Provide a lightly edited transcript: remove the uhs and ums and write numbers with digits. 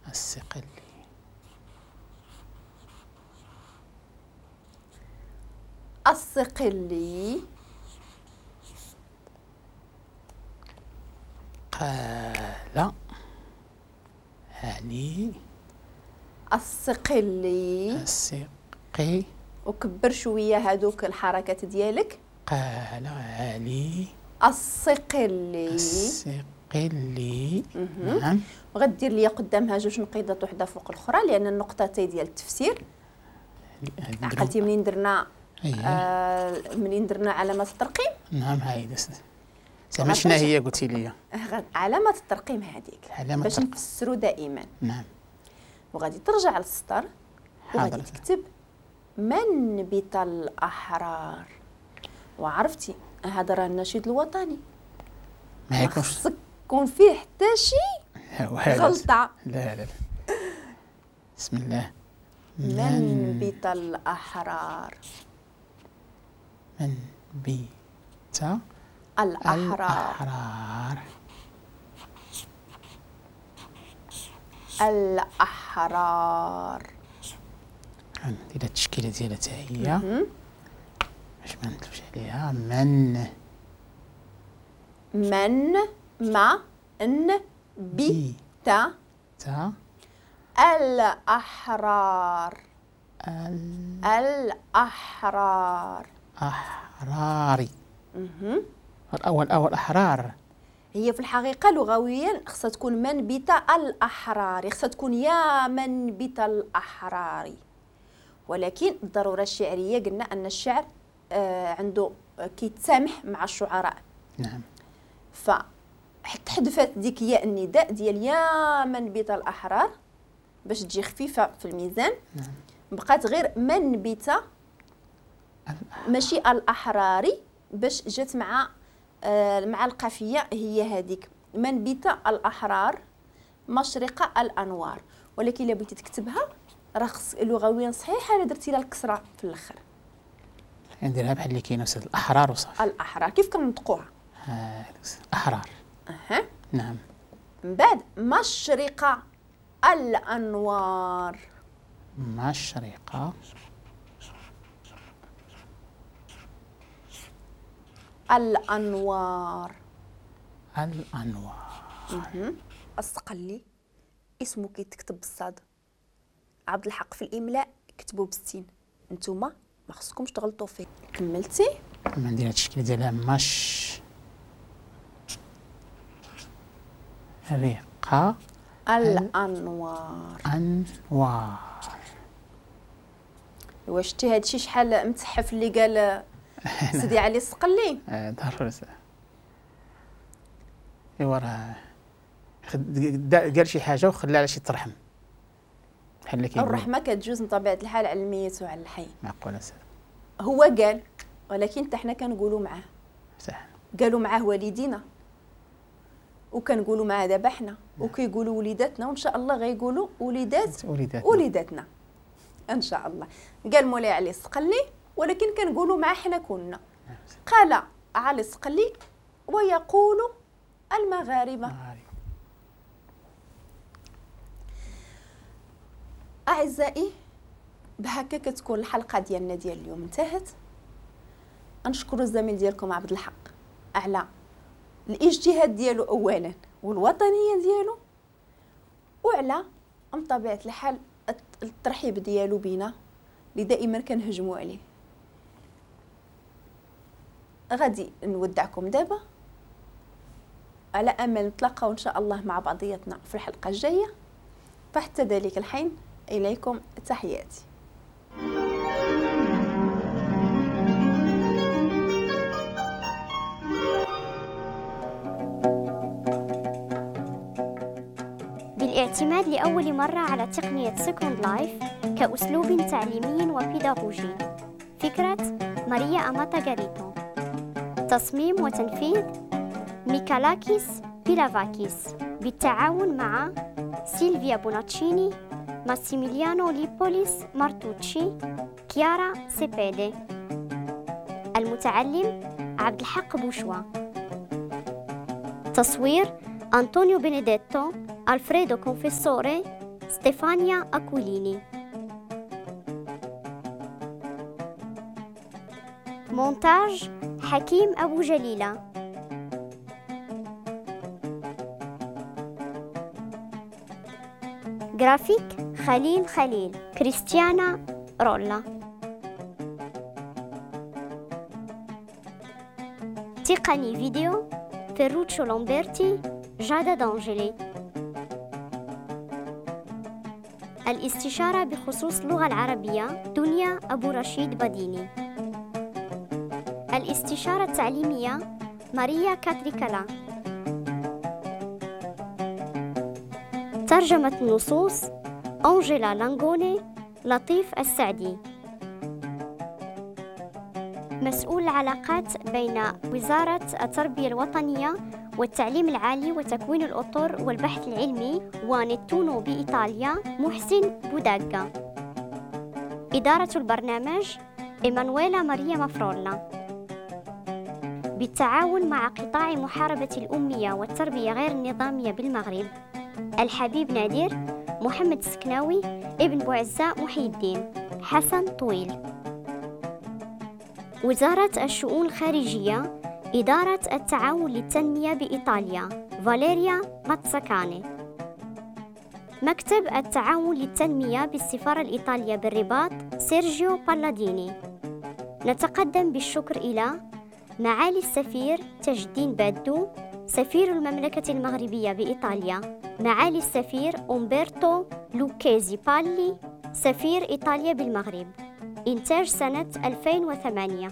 الصقلي. الصقلي. قال علي. الصقلي. الصقي. وكبر شوية هادوك الحركات ديالك. قال علي. الصقلي. الصقلي. نعم. وغدير لي قدامها جوج نقيضات وحده فوق الاخرى لان النقطتين ديال التفسير. عقلتي منين درنا؟ منين درنا علامة الترقيم؟ نعم هاي زعما شنو هي قلتي لي؟ علامة الترقيم هذيك باش نفسروا دائما. نعم. وغادي ترجع للسطر وغادي تكتب منبت الأحرار. وعرفتي هذا راه النشيد الوطني، ما يكونش خصك يكون فيه حتى شي غلطة. لا لا لا، بسم الله. منبت الأحرار. منبت الأحرار. الأحرار. الأحرار. ندير التشكيلة ديالها حتى هي باش ما نتلفش عليها. من من ما ن بي تا تا الأحرار. الأحرار. أحراري. الأول أول أحرار. هي في الحقيقة لغويا خصها تكون منبت الأحرار، خصها تكون يا منبت الأحرار، ولكن الضرورة الشعرية قلنا أن الشعر عنده كيتسامح مع الشعراء. نعم. فحذفت ديك ياء النداء ديال يا منبت الأحرار باش تجي خفيفة في الميزان. نعم. بقات غير منبت ماشي الأحراري باش جات مع مع القافية هي هذيك منبت الأحرار مشرق الأنوار. ولكن إلا بغيتي تكتبها راه خص لغويا صحيحة، الا درتي لها الكسرة في الآخر. نديرها بحال اللي كاينه أستاذ، الأحرار وصافي. الأحرار كيف كنطقوها؟ أحرار. نعم. من بعد مشرق الأنوار. مشرق الأنوار. الأنوار. الصقلي اسمه كيتكتب بالصاد، عبد الحق في الإملاء كتبوا بالسين، نتوما ما خصكمش تغلطوا فيه. كملتي؟ ندير هاد الشكل ديالها مش رقة الأنوار. أنوار. واش شتي هادشي شحال متحف اللي قال سيدي علي الصقلي؟ ضروري. ايوا راه قال شي حاجة وخلى على شي ترحم بحال اللي كيقول. الرحمة كتجوز من طبيعة الحال على الميت وعلى الحي. معقول سيدي. هو قال، ولكن حتى حنا كنقولوا معاه. صح. قالوا معاه والدينا، وكنقولوا معاه دابا حنا، وكيقولوا وليداتنا، وان شاء الله غيقولوا وليدات وليداتنا ان شاء الله. قال مولاي علي الصقلي، ولكن كنقولوا مع حنا كنا. قال علي الصقلي ويقول المغاربة. أعزائي، بهكا كتكون الحلقة ديالنا ديال اليوم انتهت. نشكر الزميل ديالكم عبد الحق على الاجتهاد ديالو أولا، والوطنية ديالو، وعلى بطبيعة الحال الترحيب ديالو بينا اللي دائما كنهجموا عليه. غادي نودعكم دابا على امل نتلاقاو ان شاء الله مع بعضياتنا في الحلقة الجاية. فحتى ذلك الحين اليكم تحياتي. بالاعتماد لأول مرة على تقنية Second Life كأسلوب تعليمي وبيداغوجي. فكرة ماريا أماتا غاريتو. تصميم وتنفيذ ميكالاكيس بيلافاكيس بالتعاون مع سيلفيا بوناتشيني، ماسيميليانو ليبوليس مارتوتشي، كيارا سيبيدي. المتعلم عبد الحق بوشوا. تصوير أنطونيو بينيديتو، ألفريدو كونفيسوري، ستيفانيا أكوليني. مونتاج حكيم أبو جليلة. جرافيك خليل خليل، كريستيانا رولا. تقني فيديو فيروتشو لامبرتي، جادا دانجلي. الاستشارة بخصوص اللغة العربية دنيا أبو رشيد بديني. الاستشارة التعليمية ماريا كاتريكالا. ترجمة النصوص أنجيلا لانغوني، لطيف السعدي. مسؤول العلاقات بين وزارة التربية الوطنية والتعليم العالي وتكوين الأطر والبحث العلمي ونتونو بإيطاليا محسن بوداغا. إدارة البرنامج إيمانويلا ماريا مافرولا. بالتعاون مع قطاع محاربة الأمية والتربية غير النظامية بالمغرب، الحبيب نادر، محمد السكناوي، ابن بوعزة محي الدين، حسن طويل. وزارة الشؤون الخارجية، إدارة التعاون للتنمية بإيطاليا، فاليريا ماتساكاني. مكتب التعاون للتنمية بالسفارة الإيطالية بالرباط، سيرجيو بالاديني. نتقدم بالشكر إلى معالي السفير تاج الدين بادو، سفير المملكة المغربية بإيطاليا، معالي السفير أومبرتو لوكيزي بالي، سفير إيطاليا بالمغرب. إنتاج سنة 2008.